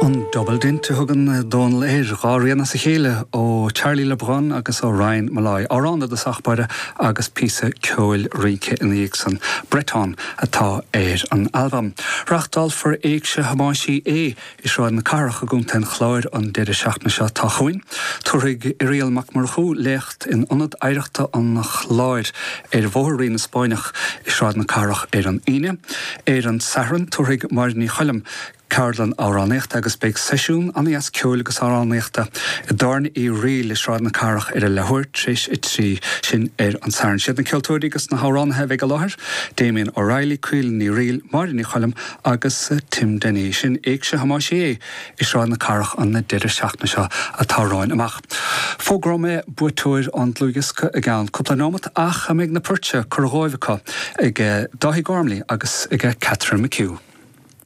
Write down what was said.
An Double Dint a thugann Dónal air, 2 rian as a chéile ó Charlie Le Brun agus ó Ryan Molloy. Amhrán i dtosach báire agus píosa ceoil rince ina dhiaidh san. Breton atá ar an albam. Reáchtálfar Éigse Thomáis Uí Aodha i Sráid na Cathrach i gContae an Chláir an deireadh seachtaine seo atá chugainn. Tabharfaidh Irial Mac Murchú léacht in Ionad Oidhreachta an Chláir ar Bhóthar Rí na Spáinneach i Sráid na Cathrach ar an Aoine. Ar an Satharn, tabharfaidh Máire Ní Choilm ceardlann amhránaíochta agus beidh seisiún an-dheas ceoil agus amhránaíochta i dTábhairne Uí Fhrighil i Sráid na Cathrach ar a leathuair tar éis a 3, sin ar an Satharn. Siad na ceoltóirí agus na hamhránaithe a bheidh i láthair, Damien O'Reilly, Caoilfhionn Ní Fhrighil, Máire Ní Choilm agus Tim Denny. Sin Éigse Thomáis Uí Aodha i Sráid na Cathrach an deireadh seachtaine seo atá romhainn amach. Fógróidh mé buaiteoir an dlúthdhiosca i gceann cúpla nóimeat ach an mbeidh na poirt seo curtha dhóibh acu ag Dáithí Gormley agus ag Catherine McHugh.